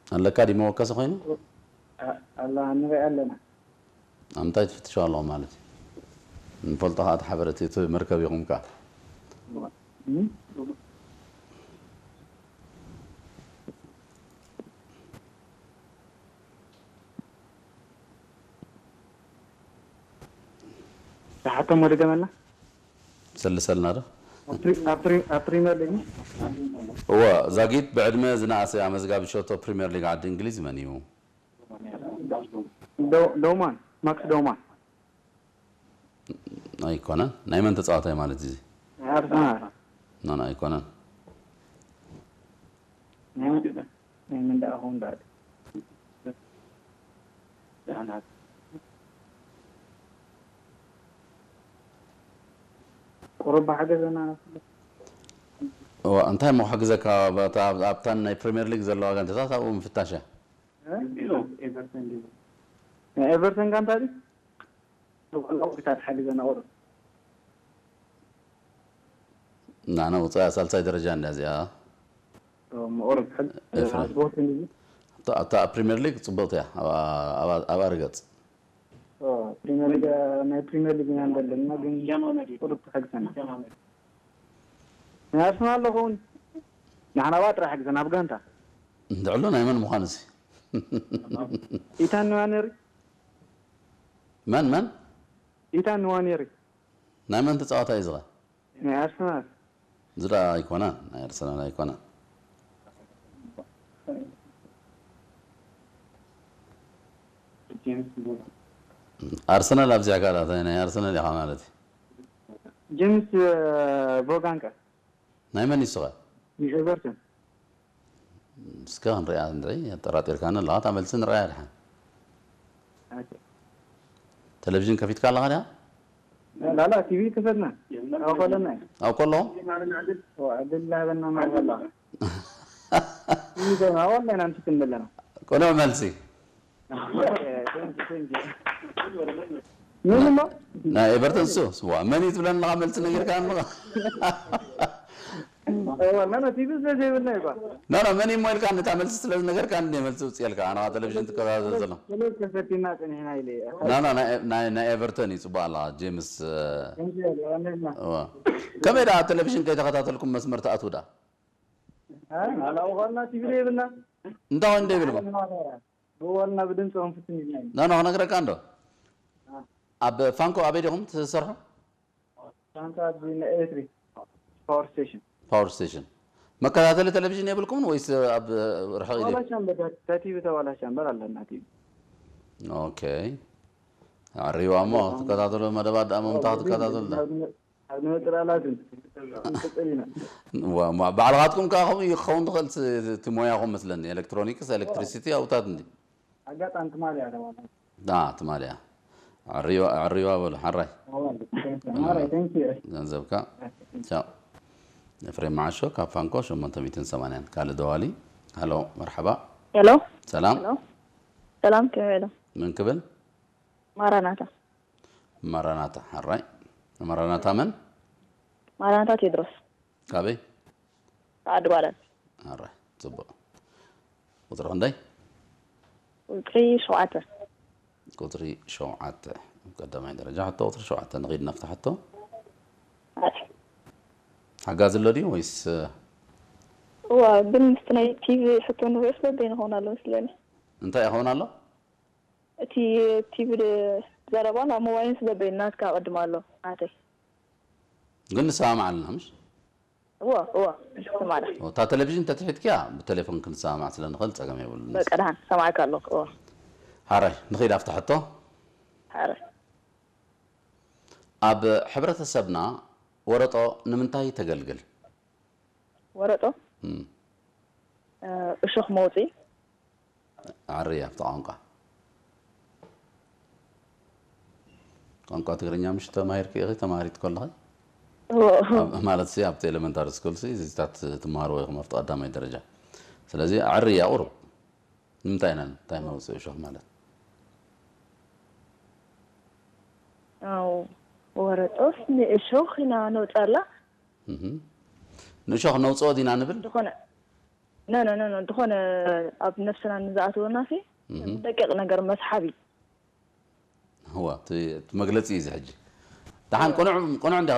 ኣለካ ድዩ መወከሲ ኮይኑ? ኣላ ንሪኢ ኣለና። ኣብ ምንታይ ትፍትሹ ኣለኹም ማለት እዩ? ንፈልጦ ከኣ እቲ ሓበረት እቲ መርከብ ኢኹም ከኣ። ዝሓቶም ወደ ገመልና ሰልሰልና ዶ? ኣብ ፕሪምየር ሊግ እወ ዛጊት ብዕድመ ዝነኣሰ ኣመዝጋቢ ሸቶ ፕሪምየር ሊግ ዓዲ እንግሊዝ መን እዩ? ዶማን ማክስ ዶማን ኣይኮነን። ናይ መን ተጻዋታይ ማለት እዚ? ኣርሰናል ናና ኣይኮነን። ናይ መን ደኣ ኹን ዳድ ቁሩብ ሓገዘና እዋ እንታይ እሞ ክሕግዘካ? ኣብታን ናይ ፕሪምየር ሊግ ዘለዋ ጋንታታት ኣብኡ ምፍታሽ እያ። ናይ ኤቨርተን ጋንታ ድዩ? ብቐላው ክሳብ ሓሊ ዘናቑር ናና ውፅኣ ሳልሳይ ደረጃ እንዳ እዚኣ መቑረብ ሕል ኤፍሬም። ቦትን እዩ ኣብታ ኣብታ ፕሪምየር ሊግ ፅብቕቲ እያ። ኣብኣ- ኣብኣ- ኣብኣ ርገፅ ፕሪምየር ሊግ ናይ ፕሪምየር ሊግ ኢና ንደለና ግን ቁሩብ ትሕግዘና ናይ ኣርሰናል ኣለኸውን ንሕና ባ ጥራሕ ሕግዘና ኣብ ጋንታ እንድዕሎ ናይ መን ምዃኑ ሲ ኢታን ንዋኔሪ መን መን ኢታን ንዋኔሪ ናይ መን ተፃዋታይ እዩ ዝኸ ናይ ኣርሰናል እዚ ደኣ ኣይኮነን ናይ ኣርሰናል ኣይኮነን ኣርሰናል ኣብዚኣ ካልኣት ናይ ኣርሰናል ኢኻ ማለት እዩ ጀምስ ቦጋንቀ ናይ መን ይስኸ ንኤቨርተን እስከ ክንሪኣ ንርኢ ኣጠራጢርካኒ ኣለኻ እታ መልሲ ንሪኣ ድሓን ቴሌቪዥን ከፊትካ ኣለኻ ድያ ላላ ቲቪ ክፈትና ኣኸለና ኣብ ከለኹ ድላበና ማለላ ኣወልና ኢና ንስክን ዘለና ቅኑዕ መልሲ ምን እሞ ናይ ኤቨርተን ሱ ስዋ መን እዩ ትብለኒ ኣለኻ መልሲ ነጊርካ ኣለኻ መን ቲቪ ስለ ዘይብልና ይባ ኖ ኖ መን እሞ ኢልካ ነታ መልሲ ስለ ዝነገርካ እንደ መልሲ ውፅኤልካ ኣና ቴሌቪዥን ትከታተል ዘሎ ከፈቲና ፀኒሕና ኢለ ኖ ኖ ናይ- ናይ ናይ ኤቨርተን እዩ ፅቡቅ ኣለኻ ጄምስ እዋ። ከመይ ደኣ ቴሌቪዥን ከይተኸታተልኩም መስመር ትኣትዉ ደኣ ኣላውኻልና ቲቪ ዘይብልና እንታይ ወይ እንደ ይብልኩም ብዋልና ብድምፂ ክንፍትን ኢልና ኢና ኖ ኖ ክነግረካ እንዶ ኣብ ፋንኮ ኣበይ ዲኹም ትሰርሑ ሳንታ ኣብዚ ናይ ኤሌክትሪክ ፓወር ስቴሽን ፓወር ስቴሽን መከታተሊ ቴሌቪዥን የብልኩምን ወይስ ኣብ ርሕቕ ኢለ ተዋላ ሻምበር ቲቪ ተዋላ ሻምበር ኣለና ቲቪ ኦኬ ኣሪዋ እሞ ትከታተሉ መደባት ደኣ መምታ ክትከታተሉ ዳ ኣብ ንመፅእ ላዝም ንቅፅል ኢና ዋ- ማ- ባዕልኻትኩም ከዓ ከምኡ እዩ ክኸውን ትኽእል ስ- እቲ ሞያኹም መስለኒ ኤሌክትሮኒክስ ኤሌክትሪሲቲ ኣውታት እንዲ ኣጋጣሚ ትማሊ ኣለዋና ዳ ትማሊ እያ ኣዕርዋ ኣዕርዋ በሉ ሓራይ ማራይ ተንኪ ገንዘብካ ቻው ኤፍሬም መዓሾ ካብ ፋንኮ ሸሞንተ ሚእትን ሰማንያን ካልእ ደዋሊ ሃሎ መርሓባ ሄሎ ሰላም ሄሎ ሰላም ከመይ ኢሎም ምን ክብል ማራናታ ማራናታ ሓራይ ማራናታ መን ማራናታ ቴድሮስ ካበይ ዓዲ ጓዳን ሓራይ ፅቡቅ ቁፅሪ ክንደይ ቁፅሪ ሸውዓተ ቁፅሪ ሸውዓተ ቀዳማይ ደረጃ ሕቶ ቁፅሪ ሸውዓተ ንኺድ ናፍቲ ሕቶ ሓጋዚ ኣሎ ድዩ ወይስ እዋ ግን ምስቲ ናይ ቲቪ ሕቶ ንሪኦ ስለ በይንኸውን ኣሎ መስለኒ እንታይ ይኸውን ኣሎ እቲ ቲቪ ዘረባ ናብ ሞባይልን ስለ በይን ናትካ ቅድም ኣሎ ናተይ ግን ንሰማማዕ ኣለና ምሽ እዋ እዋ ንስማዕና እታ ቴሌቪዥን ተትሒትክያ ብቴሌፎን ክንሰማማዕ ስለ ንኽእል ፀገም የብሉን በቃ ደሓን ሰማዕካ ኣለኹ እዋ ሓራይ ንኸይድ ኣብታ ሕቶ ሓረ ኣብ ሕብረተሰብና ወረጦ ንምንታይ ተገልግል ወረጦ እም፣ እሾኽ መውፅኢ ዓሪ ኣብቲ ቋንቋ ቋንቋ ትግርኛ ምሽ ተማሂርክ ኢኺ ተማሃሪት ከለኺ እዎ ኣብ- ማለት ሲ ኣብቲ ኤሌመንታሪ ስኩል ሲ እዚታት ትመሃርዎ ኢኹም ኣብቲ ቀዳማይ ደረጃ ስለዚ ዓሪ እያ ቁሩብ ንምንታይ ኢና እንታይ መውፅኢ እሾኽ ማለት ኣው ወረጦስ ንእሾኽ ኢና ነውፃላ እህ። ንእሾኽ ነውፅኦ ዲና ንብል ዝኾነ ነ ነ ነ ነ ዝኾነ ኣብ ነፍስና ንዝኣትወና ሲ ደቂቕ ነገር መስሓብ እዩ። እዋ እቲ መግለፂ እዩ እዚ ሕጂ። ደሓን ቅኑዕ ቅኑዕ እንዲ